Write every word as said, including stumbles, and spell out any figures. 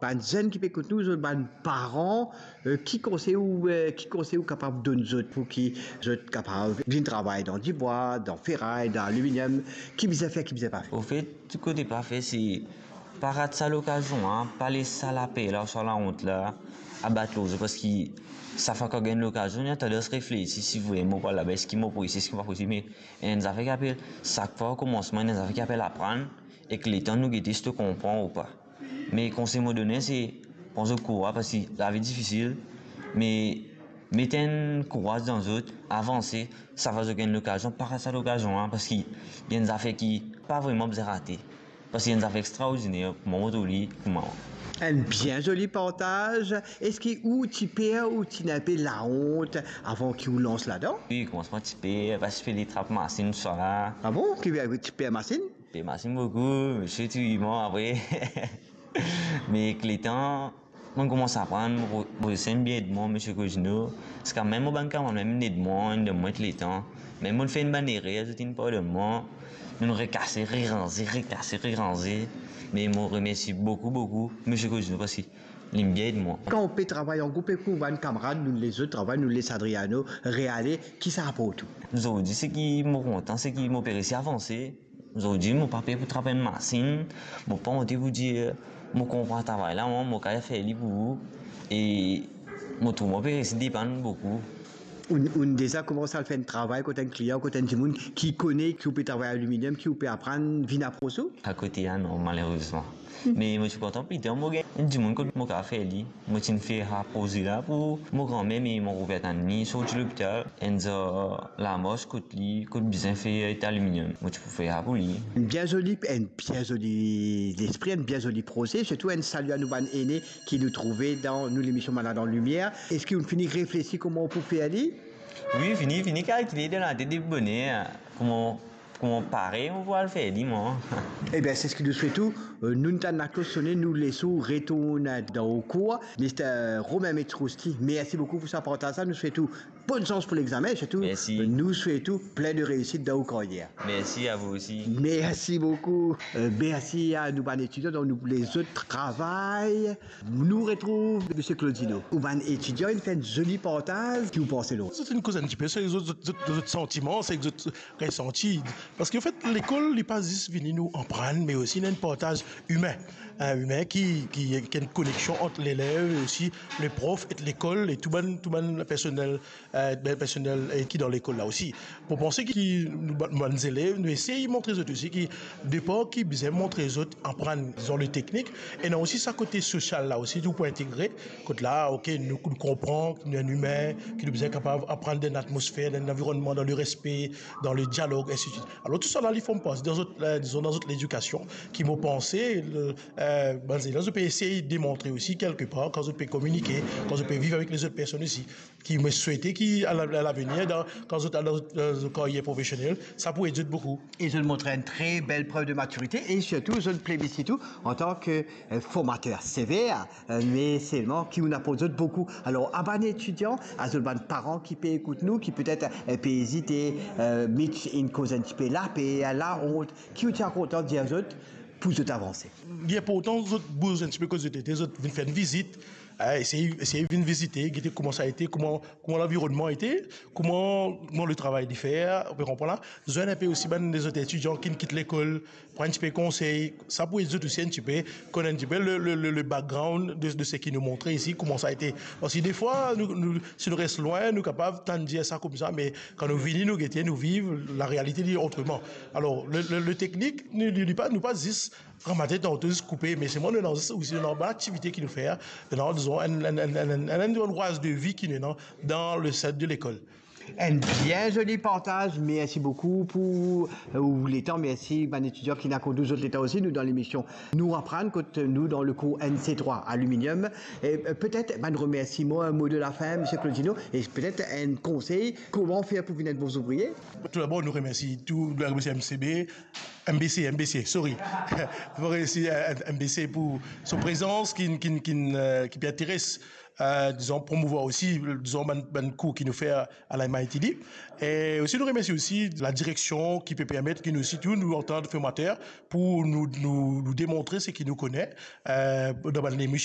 Bann zenn ki pe ekout nou, zot bann paran, eh, ki konsey ou, eh, ki konsey ou kapav donn zot pou ki zot kapav vinn travay dan dibwa, dan feray, dan aliminyom? Ki bizin fer, ki bizin pa fer? Anfet, tou kote pa fer, se pa rat sa lokazion la, pa les sa laper la, sa laont la abat lor zot, parski sa fwa ki gagn lokazion, li ena tandans reflesi si vremem mo pou al laba, eski mo pou resi, eski mo pa pou resi. Me ena enn zafer ki apel, sak fwa okomansman, ena enn zafer ki apel aprann, ek letan nou gete si to konpran ou pa. Me konsey mo donn, se pran zot kouraz, parski lavi difisil, me met enn kouraz dan zot, avanse, sa fwa zot gagn lokazion, pa rat sa lokazion la, parski li enn zafer ki pa vremem bizin rate. Parski li enn zafer extraordiner, kouma mo trouv li, kouma. Enn bien zoli partaz. Eski ou ti per, ou ti ena inpe laont avan ki ou lans ladan? Wi, komansman ti per, pa ti pe li trap masinn, tousala. Ah bon? Ki, ti per masinn? Per masinn boukou, misie ti wi mwa apre. Me ek letan, mo koumans aprann, mo, mo, sa inn bien ed mwa, misie Cosino. Ziska mem mo bann kamarad mem inn ed mwa, inn donn mwa letan. Mem mo fer enn bann erer, zot inn pardonn mwa. Nou rekase, reranze, rekase, reranze. Me mo remersi boukou, boukou, misie Cosino, parski li inn bien ed mwa. Kan ou pe travay an group ek ou bann kamarad, nou lezot travay, nou les Adriano reale, ki sa aport ou? Zordi, seki mo kontan, seki mo pe resi avanse. Zordi, mo pa per pou trap enn masinn, mo pa onte pou dir mo konpran travay la, mwa, mo kapav fer li pou ou. E mo trouv mo pe resi depann boukou. Ou, ou deza koumans al fer enn travay kot enn klian, kot enn dimoun ki kone ki ou pe travay aliminyom, ki ou pe aprann, vinn apros ou? Akote, ah non, malerezman. Me mo ti kontan, pita mo gagn enn dimoun kot mo kapav fer li. Mo ti inn fer sa proze la pou mo granmer, me mo revinn tann li sorti lopital, enn zar lamars kot li, kot bizin fer aliminyom. Mo ti pou fer sa pou li. Bien zoli, enn bien zoli lespri, enn bien zoli proze, sirtou enn sali a nou bann ene ki nou trouve dan nou lemision Malad an Limier. Eski ou fini reflesi kouma ou pou fer li? Wi, fini, fini kalkile dan latet depi boner, kouma, kouma pare mo pou al fer li, mwa. Ebien, se seki nou swet ou. Euh, nou tann laklos sone, nou les ou retourn dan ou kour. Mister Romain Metrousti, mersi boukou pou sa partaz la. Nou swet ou bonn sans pou legzame, sirtou, mersi, euh, nou swet ou plin de reisit dan ou karyer. Mersi a vou osi. Mersi boukou. Euh, mersi a nou bann etidian, donk nou lezot travay. Nou retrouv misie Claudino. Ou bann etidian, inn fer enn zoli partaz. Ki ou panse lor? Zot inn koz enn tipe, se zot, zot, zot, zot santiman, se zot resanti. Parski anfet, lekol, li pa zis vini nou aprann, me osi ena enn partaz imin. Hein, imin ki, ki, ki ena enn koneksion ant lelev e osi le prof ek lekol e tou bann, tou bann personel, euh, bann personel, euh, ki dan lekol la osi. Mo panse ki nou, bann, bann zelev, nou esey montre zot osi ki depar ki bizin montre zot aprann, dizon, le teknik, ena osi sa kote sosial la osi, tou pou integre, kot la, ok, nou, nou konpran ki nou enn imin, ki nou bizin kapav aprann dan enn atmosfer, dan enn anvironnman, dan lerespe, dan ledialog, ensidswit. Alor, tousala, li form parti dan zot, euh, dizon, dan zot ledikasion, ki mo panse, le, euh, bann zelev, zot pe esey demontre osi, kelkepar, kan zot pe kominike, kan zot pe viv avek lezot personn osi. Ki mo swete ki a la-, a lavenir, dan, kan zot al dan zot, dan zot karyer profesionel, sa pou ed zot boukou. E zot montre enn tre bel prev de matirite e sirtou zot plebisit ou antan ke, eh, formater sever, eh, me selman ki ou aport zot boukou. Alor, a bann etidian, a zot bann paran ki pe ekout nou, ki petet, eh, pe ezite, eh, Mitch inn koz enn tipe laper, laont, ki ou ti a kontan dir zot pou zot avanse? Li inportan zot bouz enn tipe kot zot ete, zot vinn fer enn vizit, eh, esey, esey vinn vizite, gete kouma sa ete, kouma, kouma lanvironnman ete, kouma, kouma letravay li fer, ou pe konpran la. Zwenn inpe osi bann lezot etidian ki kit lekol, pran enn tipe konsey, sa pou ed zot osi enn tipe, konn enn tipe le, le, le, le background de, de seki nou montre isi, kouma sa ete. Parski defwa, nou, nou, si nou res lwin, nou kapav tann dir sa koumsa, me kan nou vini, nou gete, nou viv, larealite li otreman. Alor, le, le, le teknik, nou, nou, nou pa, nou pa zis ranmate tanto zis koupe, me selman nou ena zis osi, nou ena bann aktivite ki nou fer, nou ena, dizon, enn, enn, enn rwaz de vi ki nou ena dan le set de lekol. Enn bien zoli partaz, mersi boukou pou, euh, ou letan, mersi bann etidian ki inn akord nou zot letan osi, nou dan lemision Nou Aprann, kot nou dan le kour N C trois aliminyom. E, euh, petet bann remersiman, enn mo de lafin, misie Claudino, e petet enn konsey, kouma fer pou vinn enn bon zouvrie? Toudabor, nou remersi tou, nou remersi M C B, M B C, M B C, sorry. Nou remersi, euh, M B C pou so prezans ki, ki, ki, euh, ki pe interes euh, dizon, promouvwar osi, dizon, bann, bann kour ki nou fer a la M I T D. E osi nou remersie osi la direksion ki pe permet ki nou osi tou nou antann formater pou nou, nou, nou demontre seki nou kone, euh, dan bann lemision